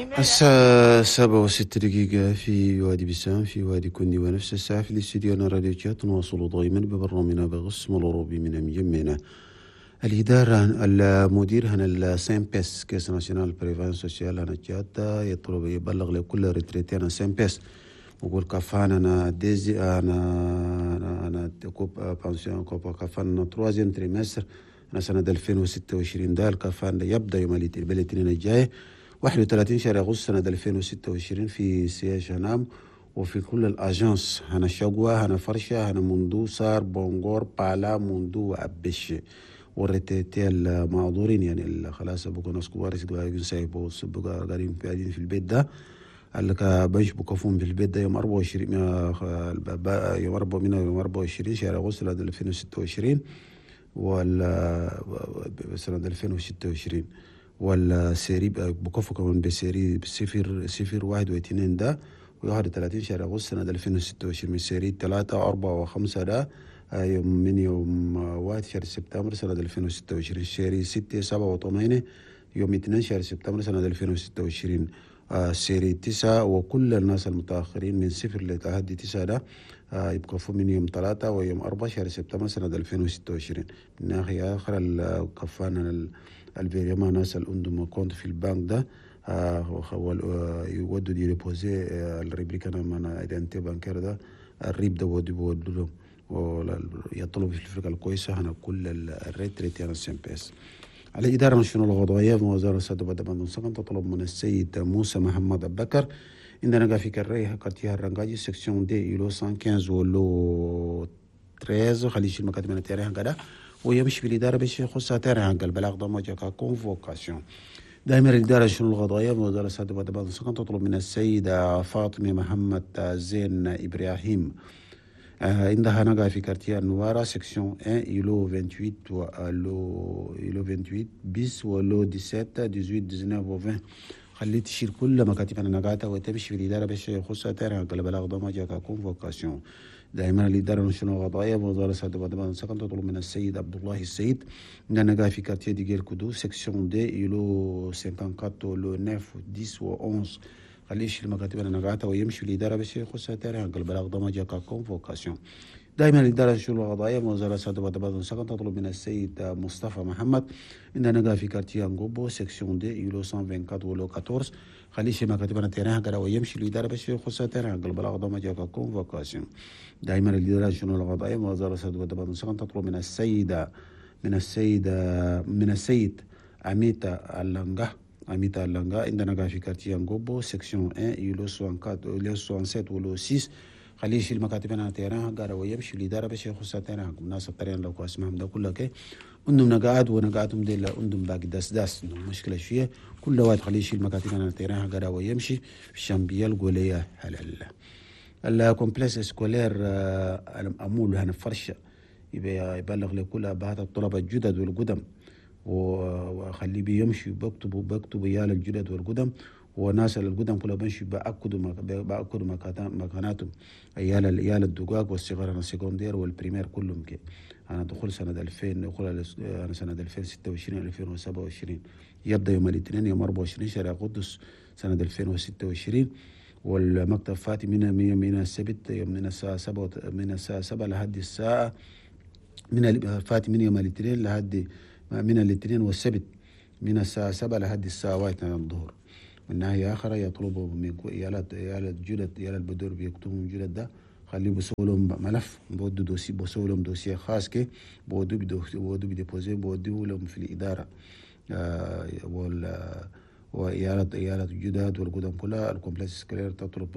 الساعة 7:06 في وادي بسام، في وادي كندي، ونفس الساعة في الاستديو راديو تشاد. نواصل دائما ببرنامجنا بقسم الأوروبي من مجمعنا. الإدارة، المدير هنا ال CNPS، Caisse nationale prévoyance sociale هنا تشاد، يطلب يبلغ لكل retraités هنا CNPS، وقول كفانا أنا deuxi أنا coupe pension، coupe كفانا troisième trimestre أنا سنة 2026. ده الكفان يبدأ يوم الاثنين الجاي 31 شهر أغسطس سنة 2026 في siège هنام وفي كل ال agences هنا شقوة، هنا فرشة، هنا مندو، سار، بونغور، بالا، مندو وأبش. وال retraités المعذورين، يعني خلاص بقوا ناس كبار بقوا قاعدين في البيت ده، اللي بنش بكفون في البيت ده، يوم 24، يوم 4 من يوم 24 شهر أغسطس 2026 ولا سنة 2026. وال série بكفوا كمان ب série 0 0 1 و2 ده، و31 شهر أغسطس سنة 2026 من série 3 و4 و5 ده، يوم من يوم 1 شهر سبتمبر سنة 2026. série 6 7 و8 يوم 2 شهر سبتمبر سنة 2026. Série 9 وكل الناس المتأخرين من 0 لحد 9 ده يبقوا من يوم 3 ويوم 4 شهر سبتمبر سنة 2026. من ناحية آخرى، الكفان ال virement، ناس اللي عندهم compte في البنك ده يودوا دي déposer ال rubrique أنا من identité bancaire ده، ال RIB ده بودوا لهم. ويطلب في الفرقة الكويسة هنا كل ال retraités هنا CNPS. على الإدارة الشؤون القضائية في وزارة السادة بدأ تطلب من السيد موسى محمد أبو بكر، عندنا في كريه quartier الرنجاجي، section deux، îlot 115 و lot 13، خليه يشيل مكاتب من terrain كده ويمشي في الإدارة باش يخصها terrain. البلاغ ده ما convocation. دائما الإدارة الشؤون القضائية وزارة السادة بدأ تطلب من السيدة فاطمة محمد زين إبراهيم، عندها نقا في quartier النوارة، section 1، îlot 28 و lot îlot 28 bis و lot 17، 18، 19 و 20، خليه تشيل كل مكاتب النقاطة وتمشي في الإدارة باش يخصها terrain. البلاغ ده ما جاك convocation. دائما الإدارة الشؤون القضائية وزارة السادة بدأ تطلب من السيد عبد الله السيد، عندنا في quartier ديجيل كودو، section deux، îlot 54، lot 9، 10 و 11، خليه يشيل مكاتب النقاطة ويمشي في الإدارة باش يخصها terrain. البلاغ ده ما جاك convocation. دائما الإدارة الشؤون القضائية وزارة السادة بدأ تطلب من السيد مصطفى محمد، عندنا في quartier انغوبو، section deux، îlot 124 و lot 14، خليه يشيل مكاتب ال terrain كده ويمشي الإدارة باش يخصها terrain. البلاغ ده ما جاك convocation. دائما الإدارة الشؤون القضائية وزارة السادة بدأ تطلب من السيد أميتا اللانغا، أميتا اللانغا، عندنا في quartier انغوبو، section 1، îlot 64، îlot 67 و lot 6، خليه يشيل مكاتب هنا terrain قال ويمشي الإدارة باش يخصها terrain. الناس ال terrain لو اسمهم ده كله كي عندهم نقاعد ونقاعدهم دي عندهم باقي داس داس، عندهم مشكلة شوية. كل واحد خليه يشيل مكاتب هنا terrain قال ويمشي في الشامبيال قولية هلال ال complexe scolaire أمول هنا فرشة، يبلغ لكل أبهات الطلبة الجدد والقدم، وخليه بيمشي بيكتبوا يال الجدد والقدم، وناس القدم كلها بيمشي بأكدوا مكاناتهم، عيال الدقاق والصغار ال secondaire وال primaire كلهم كي. أنا دخول سنة 2000، دخول أنا سنة 2026 2027 يبدأ يوم الاثنين يوم 24 شهر أغسطس سنة 2026، والمكتب فاتح من السبت يوم من الساعة 7، من الساعة 7 لحد الساعة من فاتح من يوم الاثنين لحد من الاثنين والسبت من الساعة 7 لحد الساعة 1 الظهر. من ناحية أخرى، يطلبوا من عيال الجدد، عيال البدور بيكتبوا جدد ده، خليه بيسووا لهم ملف، بودوا dossier، بيسووا لهم dossier خاص كي بودوا ب déposer، بودوا لهم في الإدارة. وعيالات الجداد والقدم كلها ال complexe scolaire تطلب.